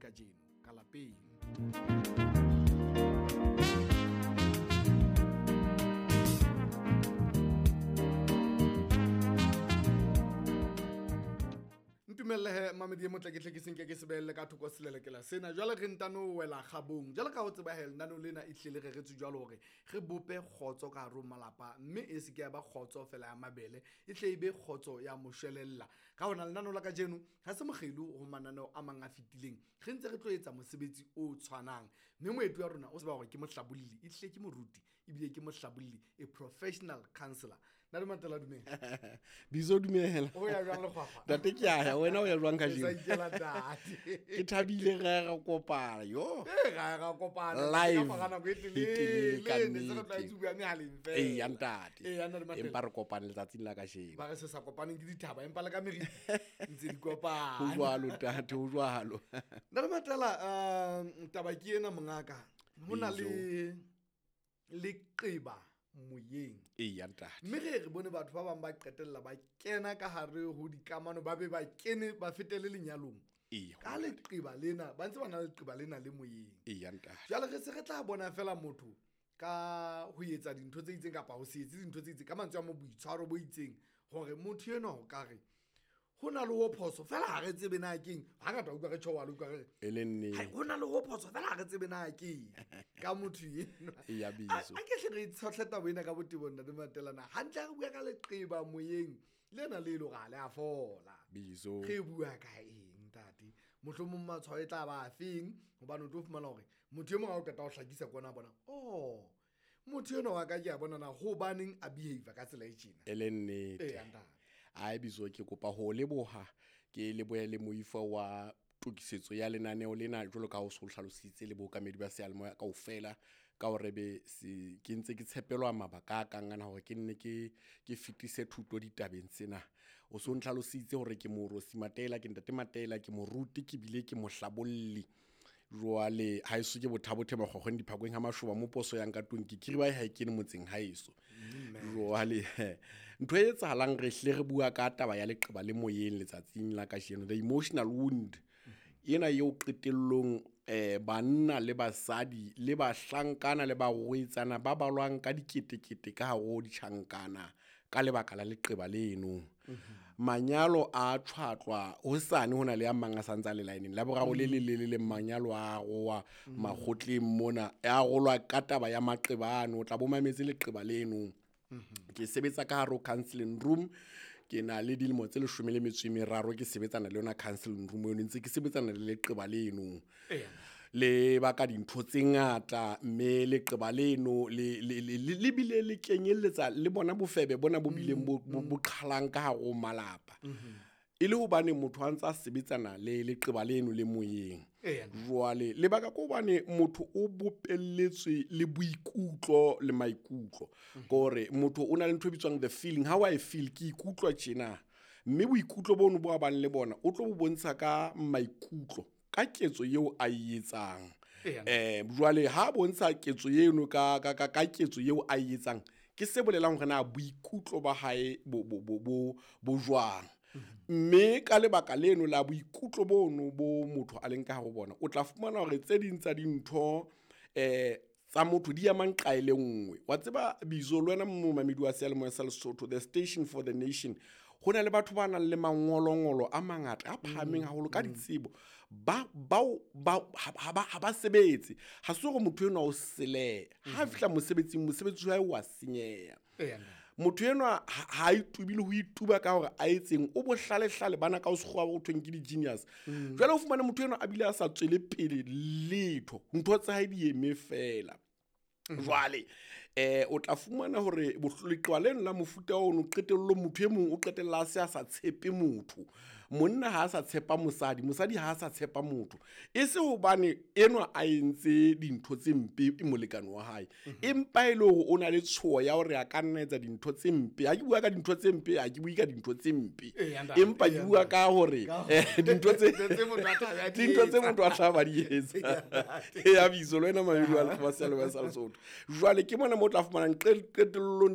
kajeno ka lapeng. Ntumelle mamedi e motle ke tle ke senke ke sebelle ka thoko selelekela sena. Jwale re ntano wela kgabong. Jwale ka ho tseba he lenaneo lena e hlile re retswe jwalo hore re bope kgotso ka hare ho malapa, mme e se ke ya ba kgotso fela ya mabele, e hle e be kgotso ya moshwelella. Ka hona lenaneo la kajeno ha se mokgelo ho mananeo a mang a fetileng, re ntse re tlo etsa mosebetsi o tshwanang. Mme moeti wa rona o tseba hore ke mohlabolli, e hlile ke moruti ebile ke mohlabolli, a professional counselor. Ntate Matela, dumela. Bizo, dumela. O ya jwang lekgwakgwa? Ntate, ke a ya, wena o ya jwang Ke sa kajeno? ikela ntate. Ke thabile re ra kopana, yo. Ee, ra kopana. Live. Ka mora nako e E telele ka telele, ne se re nnete. tlwaetse ho bua mehaleng fela. Eya, ntate. Eya, ntate Matela. Empa re kopane letsatsing la kajeno. Ba re se sa kopaneng ke dithaba, empa le ka meriti ntse di kopana. Ho jwalo, ntate, ho jwalo. Ntate Matela, taba ke ena mongaka. Ho na le leqeba moyeng. Eya, ntate. Mme re bone batho ba bang ba qetella ba kena ka hare ho dikamano, ba be ba kene, ba fetele lenyalong. Eya, Ka leqeba lena, ba ntse ba na le leqeba lena le moyeng. Eya, ntate. Jwale re se re tla bona fela motho ka ho etsa dintho tse itseng kapa ho se etse dintho tse itseng, ka mantswe a mo boitshwaro bo itseng, hore motho enwa o ka re ho na le ho phoso fela ha re tsebe na keng. Hangata o utlwa re tjho, wa le utlwa re re, E le nnete. Hai, ho na le ho phoso fela ha re tsebe na keng ka motho enwa. Eya, Bizo. A ke hle re tshohle taba ena ka botebo, Ntate Matela, na hantle ha re bua ka leqeba moyeng lena le e le hore ha le a fola. Bizo. Re bua ka eng, ntate? Mohlomong matshwao e tla ba a feng? Hobane o tlo fumana hore motho e mong ha o qeta ho hlakisa kwana a bona, oh, motho enwa wa ka ke a bona na hobaneng a behave ka tsela e tjena. E le nnete. Eya, ntate. Ai, Bizo, ke kopa ho leboha, ke lebohe le moifo wa tokisetso ya lenaneo lena jwalo ka ha o so hlalositse le bookamedi ba seyalemoya kaofela, ka hore be se ke ntse ke tshepelwa mabaka a kang ana hore ke nne ke fetise thuto ditabeng tsena. O so ntlhalositse hore ke Moorosi Matela, ke Ntate Matela, ke moruti, ke bile ke mohlabolli. Jwale ha eso ke bothabothe makgokgong diphakweng ha mashoba mo poso yang ka tlung, ke kiri ba ha e kene motseng ha eso. Jwale ntho e etsahalang, re hle re bua ka taba ya leqeba le moyeng letsatsing la kajeno, the emotional wound ena eo qetellong, banna le basadi le bahlankana le barwetsana ba balwang ka diketekete ka hare ho ditjhankana ka lebaka la leqeba leno. Manyalo a tshwatlwa hosane, ho na le a mang a santse a le line-eng. La boraro le le le le le manyalo a roa makgotleng mona, a rolwa ka taba ya maqeba ano, o tla bo mametse leqeba leno. Ke sebetsa ka hare ho counseling room, ke na le dilemo tse 13 ke sebetsana le yona counseling room eno, ntse ke sebetsana le leqeba leno. Le baka dintho tse ngata, mme leqeba leno le bile le kenyelletsa le bona bofebe bona bo bileng bo qhalang ka hare ho malapa. E le hobane motho a ntse a sebetsana le leqeba leno le moyeng. Jwale lebaka ke hobane motho o bopelletswe le boikutlo le maikutlo. Ke hore motho o na le ntho e bitswang the feeling. How I feel, ke ikutlwa tjena. Mme boikutlo bono bo a bang le bona, o tlo bo bontsha ka maikutlo, ka ketso eo a e etsang. Jwale ha bontsha ketso eno ka ketso eo a e etsang, ke se bolelang hore na boikutlo ba hae bo jwang. Mme ka lebaka leno la boikutlo bono bo motho a leng ka hare ho bona, o tla fumana hore tse ding tsa dintho, tsa motho di amang nqa e le nngwe. Wa tseba Bizo, le wena momamedi wa seyalemoya sa Lesotho, the station for the nation, ho na le batho ba nang le mangolongolo a mangata a phahameng haholo ka ditsebo, ha ba sebetse. Ha se hore motho enwa o seleha. Ha a fihla mosebetsing, mosebetsi wa hae wa senyeha. Motho enwa ha a itubile ho ituba ka hore a etseng, o bohlalehlale bana ka ho sekgowa ho thweng ke di-genius. Jwale o fumane motho enwa a bile a sa tswele pele letho, ntho tsa hae di eme fela. Jwale, o tla fumana hore leqeba leno la mofuta ono qetellong motho e mong o qetella a se a sa tshepe motho. Monna ha a sa tshepa mosadi, mosadi ha a sa tshepa motho. E se hobane enwa a entse dintho tse mpe molekane wa hae, empa e le hore o na le tshoho ya hore a ka nna etsa dintho tse mpe. Ha ke bua ka dintho tse mpe, ha ke bue ka dintho tse mpe. Empa ke bua ka hore, dintho tse Dintho tse motho a tla ba di dintho tse etsa. motho a tla ba di etsa. Eya, Bizo, le wena mamedi wa Lefapha la Seyalemoya sa Lesotho. Jwale ke mona mo tla fumanang qetellong